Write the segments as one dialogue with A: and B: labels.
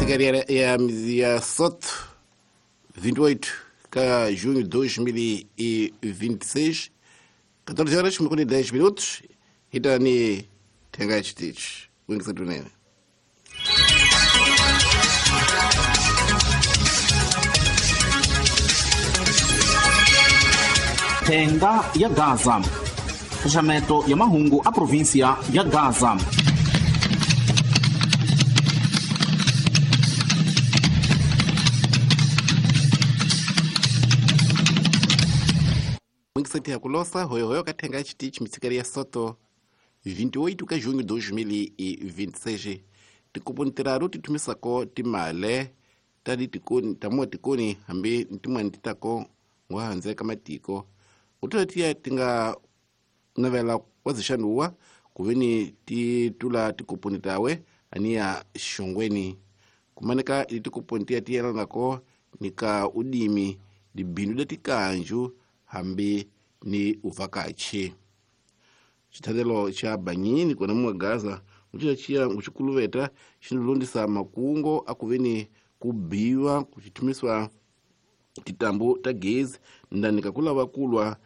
A: Mitsikari ya Soto 28 ka junho de 2026, 14 horas e 10 minutos, itani tenga chitichi wingisetunene.
B: Thenga ya Gaza, xaxameto ya mahungu a província ya Gaza.
A: Wingiseti ya kulosa hoyohoyo kathenga chitichi mitsikari ya Soto 28 ka junho de 2026. Tikuponi tiraru tithumisako timale tadi tikoni tamuwa tikoni hambi ntimwani titako ngwahanze ka matiko utula tiya tinga navela wazixanuwa kuveni titula tikuponi tawe aniya xongweni kumaneka ili tikuponi tiya tiyelanako ni ka udimi dibindu da tikanju hambi ni uvakachi. Xithandelo xa Banyini kona muwa Gaza ucila ciya nguxikuluveta xinilondisa makungo akuveni kubiwa kuxithumiswa titambu ta gezi ndanika kulava kulwa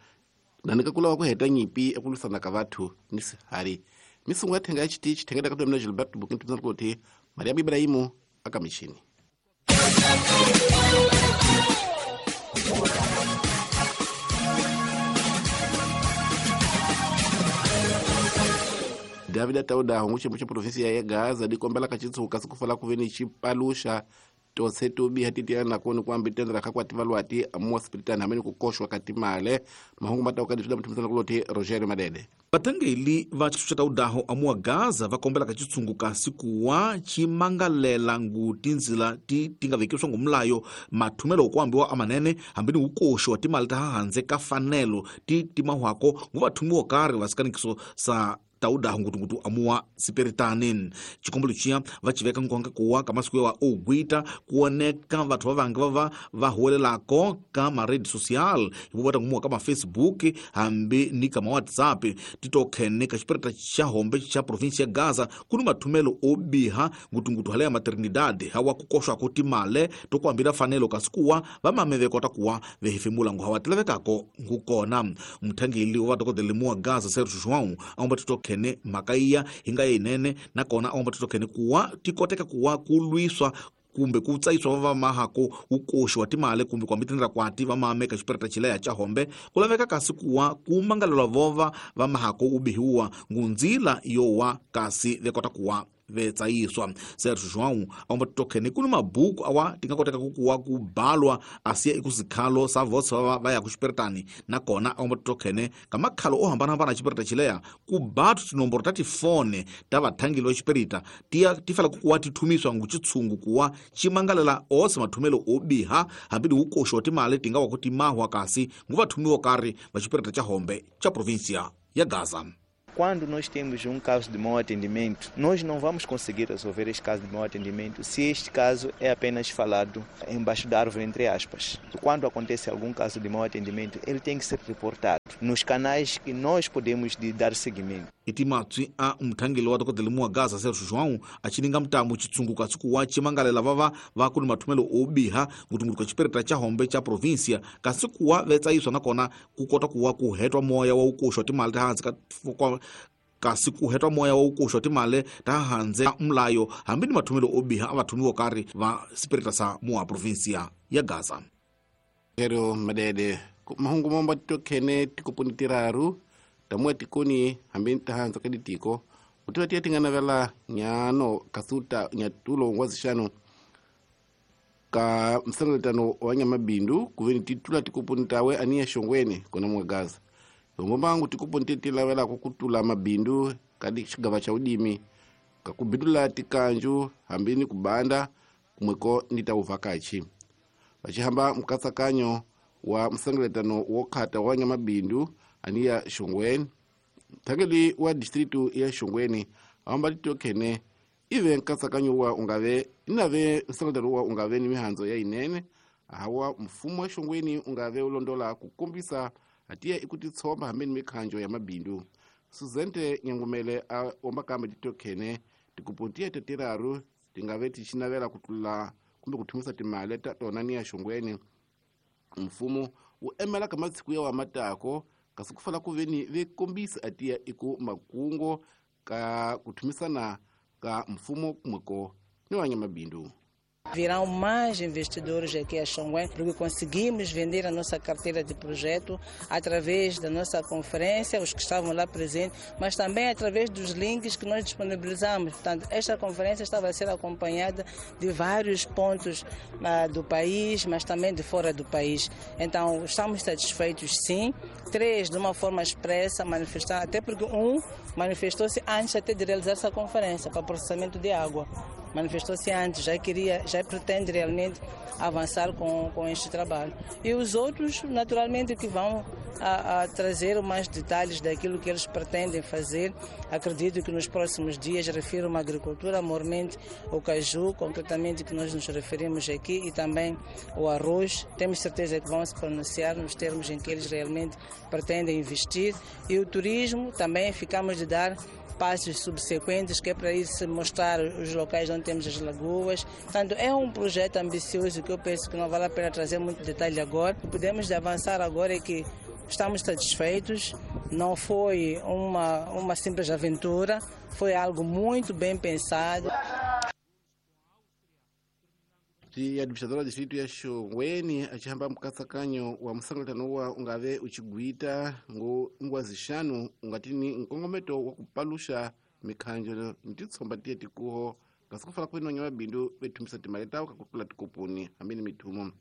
A: ndanika kulava kuheta nyipi ekulwisana ka vathu ni sihari. Misungu ya thenga ya chitichi thengeta ka mina Gilberto Bukin tumisa kuti Mariam Ibrahimu aka mixini. David Tauda hongu cha província ya Gaza dikombela ka chitsuka sikufala kuveni chipalusha tose tobi hatitiana na koni kwambi tendra kakwa tivalwati amuwa spiritani hameni kukoshwa katimale mahungu matauka dituda mtumisana kuloti Roger Madede.
B: Vatangeli va xitshunxo ta udaho amuwa Gaza va kombela ka xitshungu kasi kuwa ximangalela ngu tindzila ti nga vekiwa ngomlayo mathumelo kuambiwa amanene hambi ni ukoxo wa timali ta handze ka fanelo ti timahwako ngu vathumiwa karhi va sikanikiso sa taudaho ngutungutu amuwa siperitani. Xikombelo xiya va xiveka nkonga kuwa ka masiku ya ogwita kuoneka vathu va vangi va va huwelelako ka ma-rede social hi vota ngumuwa ka ma-Facebook hambi ni ka ma-WhatsApp titokhene ka xipereta xa hombe xa província ya Gaza ku ni mathumelo o biha ngutungutu hala ya maternidade hawa ku koxwako timale to ku hambira fanelo kasi kuwa va mame kota kuwa vehefemula ngu hawa tilavekako ngu kona. Muthangeli wa vadokodela muwa Gaza Sergio João a omba titokhene mhaka iya hi nga yinene nakona a omba titokhene kuwa ti koteka kuwa ku lwiswa kumbe ku tsayiswa va mahako ukoxi wa timali kumbe ku ambitendra kwati va mame ka xipereta xileya xa hombe ku laveka kasi kuwa ku mangalelwa vova va mahako u bihiwa ngundzila yo wa kasi ve kota kuwa ve tsayiswa. Sergio João a omba titokhene ku ni mabuku awa ti nga koteka ku kuwa ku balwa asiya ekusikhalo sa vosa va ya ku xiperetani nakona a omba titokhene ka makhalo o hambanahambana xipereta xileya ku bathu tinomboro ta tifone ta vathangeli va xiperita tiya ti fanele ku kuwa ti thumiswa ngu xitshungu kuwa ximangalela ose mathumelo o biha hambi ni ukoxo wa timali ti nga wa ku timahwa kasi ngu vathumiwa karhi va xipereta xa hombe xa província ya Gaza.
C: Quando nós temos um caso de mau atendimento, nós não vamos conseguir resolver este caso de mau atendimento se este caso é apenas falado embaixo da árvore, entre aspas. Quando acontece algum caso de mau atendimento, ele tem que ser reportado nos canais que nós podemos dar seguimento.
B: Itimatswi a muthangeli wa dokodela muwa Gaza Sergio João a xininga mutamu xitshungu kasi kuwa ximangalela vava va ku ni mathumelo o biha ngutungutu ka xipereta xa hombe xa província kasi kuwa ve tsayiswa nakona ku kota kuwa ku hetwa moya wa ukoxwa timali ta hansi ka kasi ku hetwa moya wa ukoxwa timali ta handze mulayo hambi ni mathumelo o biha a vathumiwa karhi va xipereta sa muwa província ya Gaza.
A: Pero Madede mahungu momba titokhene tikoponi tiraru tamuwa tikoni hambi tahanza ka ditiko utula tiya tinga navela nyano kasuta nyatulo ngwazixano ka msangaletano wa nyamabindu kuveni titula tikoponi tawe aniya xongweni kona muwa Gaza. Ngombangu tikoponi titilavelako kutula mabindu kadi xigava xa udimi kakubindula tikanju hambi ni kubanda kumweko ni ta uvakachi. Vachihamba mkatsakanyo wa msangaletano wo khata wa nyamabindu aniya xongweni thangeli wa distritu ya xongweni ahamba titokhene ive nkatsakanyo wa ungave inave msangaletano wa ungave ni mihandzo ya inene hawa mfumo wa xongweni ungave ulondola kukombisa atiya ikutitsomba hambi ni mikhanjo ya mabindu. Suzente Nyangumele a omba kambe titokhene tikupontiya tetiraru ti nga ve ti xinavela ku tlula kumbe ku thumisa timali ta tona ni ya Shongweni. Mfumo wu emela ka matshiku ya wa matako kasi ku fala ku veni ve kombisa atiya iku makungo ka ku thumisana ka mfumo kumweko ni wa nyamabindu.
D: Virão mais investidores aqui a Xanguém, porque conseguimos vender a nossa carteira de projeto através da nossa conferência, os que estavam lá presentes, mas também através dos links que nós disponibilizamos. Portanto, esta conferência estava a ser acompanhada de vários pontos do país, mas também de fora do país. Então, estamos satisfeitos, sim. 3, de uma forma expressa, manifestar, até porque um manifestou-se antes até de realizar essa conferência para processamento de água. Manifestou-se antes, já queria, já pretende realmente avançar com este trabalho. E os outros, naturalmente, que vão a trazer mais detalhes daquilo que eles pretendem fazer. Acredito que nos próximos dias, refiro-me à agricultura, mormente o caju, concretamente que nós nos referimos aqui, e também o arroz. Temos certeza que vão se pronunciar nos termos em que eles realmente pretendem investir. E o turismo também ficamos de dar passos subsequentes, que é para ir se mostrar os locais onde temos as lagoas. Portanto, é um projeto ambicioso que eu penso que não vale a pena trazer muito detalhe agora. O que podemos avançar agora é que estamos satisfeitos, não foi uma simples aventura, foi algo muito bem pensado.
A: Ti administradora do distrito ya Xongweni achihamba mukatsakanyo wa musangatano wa ungave uchigwita ngo ngwazixanu ungatini nkongometo wa kupaluxa mikhanjo ni titshomba tiye tikuho kasi ku fala ku veni mabindu vethumisa timali tawo ka ku tlula tikoponi hambi ni mithumo.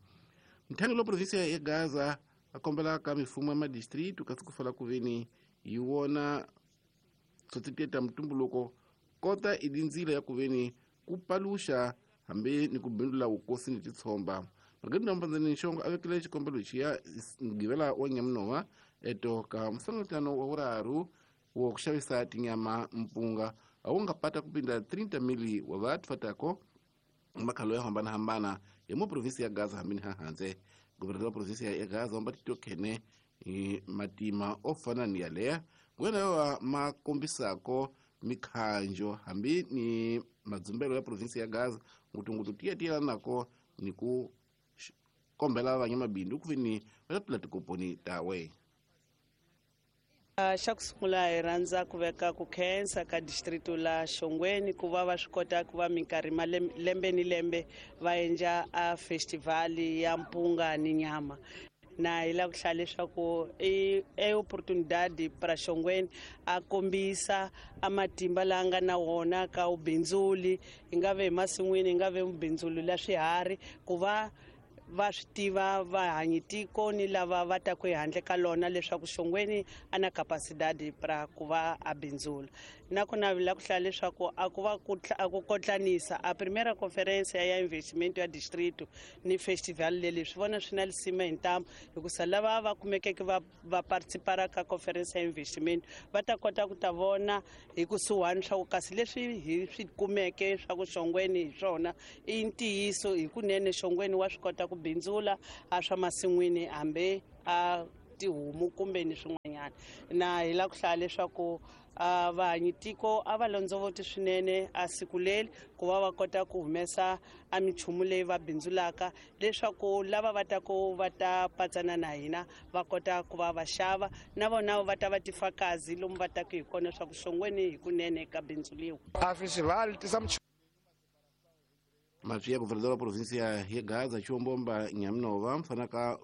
A: Mthangi lo provinsia ya Gaza a kombela ka mifumo ya madistritu kasi ku fala ku veni yi wona tsotsi tiye ta mutumbuluko kota i dindzila ya ku veni ku paluxa hambi ni ku bindula vukosi ni titshomba. Margarita Mbandzeni Nxongo a vekile xikombelo xiya Mugqivela wa Nyamunova eto ka musangatano wa vuraru wa ku xavisa tinyama mpunga a wu nga pata ku pinda 30 mili wa vathu fatako makhalo ya hambanahambana ya mo provinsi ya Gaza hambi ni hahandze. Governador wa provinsi ya Gaza wamba tito khene matima o fana ni yaleya ngwena wa makombisako mikhanjo hambi ni madzumbelo ya provinsi ya Gaza ngutungutu tiya nako ni ku kombela vanyamabindu ku veni va tula tikoponi tawe.
E: Xa ku sungula hi rhandza ku veka ku khensa ka distrito la Xongweni ku va va swi kota ku va minkarhi lembe ni lembe va endla a festival ya mpunga ni nyama. Na hi lava ku hlaya leswaku i oportunidade para Xongweni a kombisa a matimba lawa nga na wona ka vubindzuli, hi nga ve emasin'wini, hi nga ve vubindzuli la swiharhi, ku va va swi tiva vahanyi tiko ni lava va taku ehandle ka lona leswaku Xongweni a na capacidade para ku va a bindzula. Nakona la ku hlaya leswaku a ku va a ku kotlanisa a primeira conferência ya investimento ya distrito ni festival leli swi vona swi na lisima hi ntamu, hikusa lava va kumekeke va participara ka conferência ya investimento va ta kota ku ta vona hi kusuhani swa ku kasi leswi hi swi kumeke swa ku Xongweni hi swona i ntiyiso hikunene Xongweni wa swi kota ku bindzula a swa masin'wini hambi a tihomu kumbe ni swin'wanyana. Na hi lava ku hlaya leswaku vahanyi tiko a va londzovoti swinene a siku leri ku va va kota ku humesa a minchumu leyi va bindzulaka leswaku lava va taku va ta patsana na hina va kota ku va va xava na vona va ta va tifakazi lomu va taku hi kona swa ku Xongweni hikunene ka bindzuliwa.
F: A festival tisa
A: Mapfi ya governador wa provinsia ya Gaza Chiwombomba Nyamunova mfana ka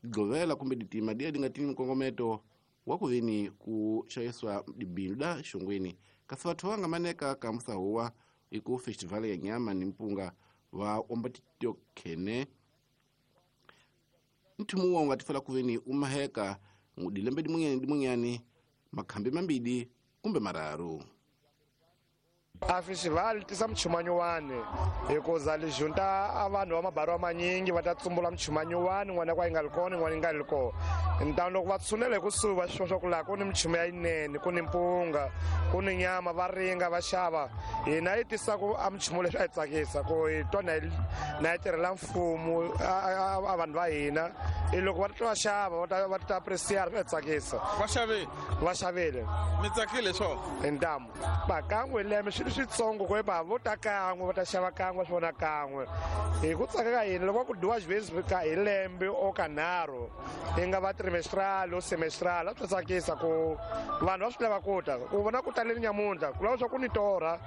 A: govela kumbe ditima dia dinga tini mkongometo wa ku veni ku xaviswa dibindu da Xongweni kasi vathu va nga maneka ka musahuwa iku festival ya nyama ni mpunga va omba titio khene nthumu wa nga tifela ku veni umaheka dilembe dimunyani makhambi mambili kumbe mararu.
F: A festival tisa mchumanyo hikuza li junta a vanhu va mabarwa manyingi va ta tsumbula mchumanyo n'wana kwa yi nga li kona n'wana yi nga li kona. Ntano loko va tshunela hi kusuhi va swi swa ku laha ku ni minchumu ya yinene, ku ni mpunga, ku ni nyama, va ringa va xava. Hina yi tisa ku a minchumu leswi a yi tsakisa ku hi twa na yi tirhela mfumo a vanhu va hina i loko va ta va xava va ta appreciate swi tsakisa.
G: Va xavile?
F: Va xavile.
G: Mi tsakile swona?
F: Hi ntamu. Bakan'we lembe swi swi switsongo ku epa vo ta kan'we va ta xava kan'we swi vona kan'we hi ku tsaka ka hina loko ku dyiwa xivezi ka hi lembe o kanharhu yi nga va trimestral o semestral a swi tsakisa ku vanhu va swi lava ku ta ku vona ku taleni nyamuntlha ku lava swa ku ni torha.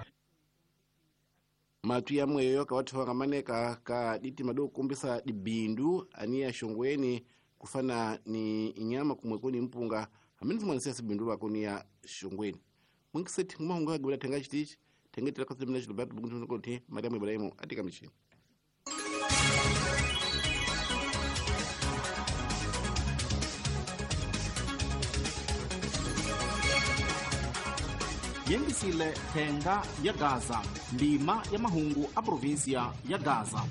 A: Matu ya mweyo ka wathu wangamaneka ka ditima do kumbisa dibindu aniya Shongweni kufana ni inyama kumweko ni mpunga hamini zimwanisia sibindu lwako ni ya Shongweni mwinkiseti ngumahungu agibula thenga chitichi thengetela kasemina Gilberto Bungu Mariamu Ibrahimu atika michini.
B: Yengisile thenga ya Gaza, ndima ya mahungu a provinsia ya Gaza.